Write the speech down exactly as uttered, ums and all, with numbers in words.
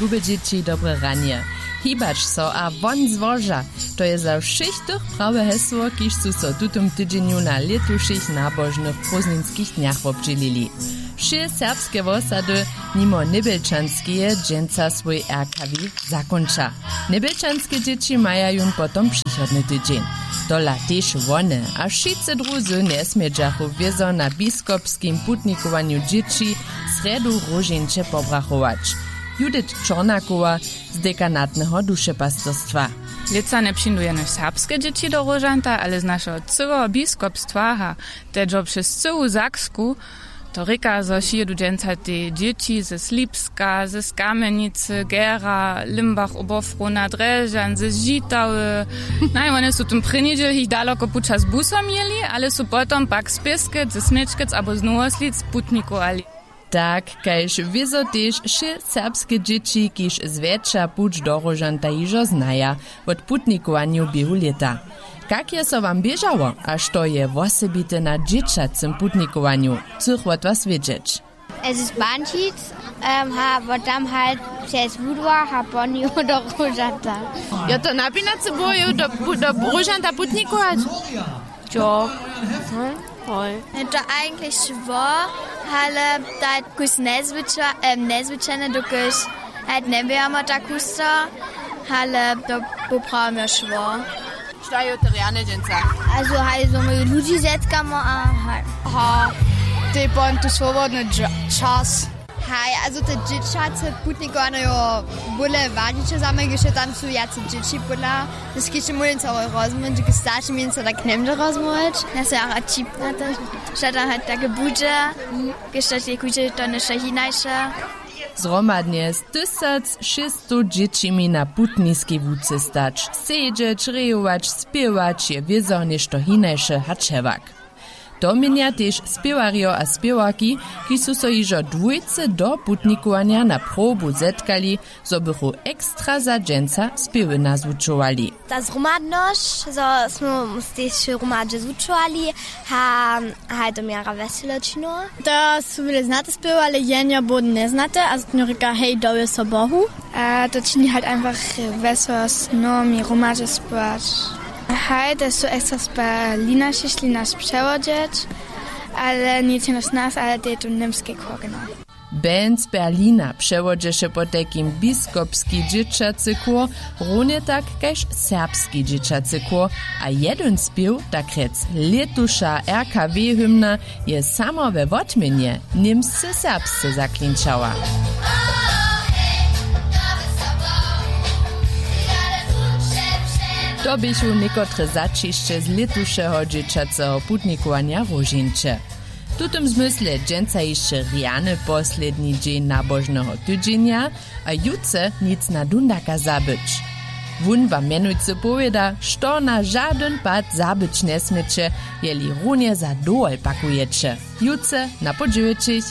Lube dźěći, dobre ranje. Hibać so a won z łoža. To je za wšěch tych prawe hesło, kiž su so w tutym tydźenju na lětušich nabožnych prózdninskich dnjach wobdźělili. Wšě serbske wosady nimo Njebjelčanskeje dźensa swój R K W zakónča. Njebjelčanske dźěći maja jón potom přichodny tydźeń. Tola tež wone a wšitcy druzy njesmědźachu wězo na biskopskim putnikowanju dźěći srjedu róžeńće pobrachować. Judith Čornakowa z dekanatneho dušepastyrstwa. Lětsa njepřińdu jenož serbske dźěći do róžanta, ale z našeho cyłeho biskopstwa, ha, tedźo přez cyłu Saksku. To rěka, zo přijědu dźensa te dźěći ze Slipska, z Kamjenicy, Gera, Limbach, Oberfrohna, Drježdźan, z Žitawy. Naj, wone su tón prěni dźěl jich daloko puća z busom jěli, ale su potom pak z Pěskec, ze Směčkec abo z Nowoslic putnikowali. Tak kaž wězo tež wšě serbske dźěći, kiž zwjetša puć do róžanta hižo znaja wot putnikowanju běhu lěta. Kak je so wam běžało a što je wosebite na dźěćacym putnikowanju, chcych wot was wědźeć. Es ist Bančic, ähm, ha, wo tam halt přez Wudwach a po nju do Róžata. Jo, to napinacy było ju do, do Róžanta putnikować? Jo. Hm, hoj. Je to eigentlich šło, ale tak kus nezwycza-, em, nezwyczajne, dokelž halt njeběhamo tak husto, ale to poprawimy šło. Što je to rjane dźensa? Also, haj, so my ludźi zetkamo a haj. Ha, te pon tu swobodny dźa-, čas. Haj, also te dźěćace putnikowanje jo bóle wadniće za mnje, kiž tam su wjace dźěći pódla. Skiće móhli so rozmóhć, k staršim jen so tak njemóže rozmóhć. Ja se jara čip na to, što tam haj take budźe, kiž to je kudźe to něšto hinaše. Zhromadnje z tysac šěsćstow dźěćimi na putniskej łuce stać, sedźeć, rejować, spěwać je wězo něšto hinaše hač hewak. To měnja tež spěwarjo a spěwarki, kiž su so hižo dwójce do putnikowanja na probu zetkali, zo bychu ekstra za dźensa spěwy nazwučowali. Ta zhromadnosć, zo smy tež hromadźe zwučowali, ha, haj to mjera wjeselo činiło. To su wjele znate spěwy, ale jenjo bóhdy njeznate, a zotnjo rěka: Hej, dowě so Bohu. A to čini halt einfach wjesło z mnohimi hromadźe spěwać. Haj, to su ekstra z Berlina přišli nas přewodźeć, ale nic jenož nas, ale to je tu němski chór, genau. Band z Berlina přewodźeše potajkim biskopski dźěćacy chór, runje tak kaž serbski dźěćacy chór, a jedyn spěw, tak rjec lětuša R K W hymna, je samo we wotměnje němsce serbsce zaklinčała. To běchu někotre zaćišće z lětušeho dźěćaceho putnikowanja Róžeńće. W tutym zmysle dźensa hišće rjany posledni dźeń nabožneho tydźenja, a jutře nic na dundaka zabyć. Wón wam mjenujcy powěda, što na žadyn pad zabyć njesměće, jeli runje za dowol pakujeće. Jutře na podźěwjećich.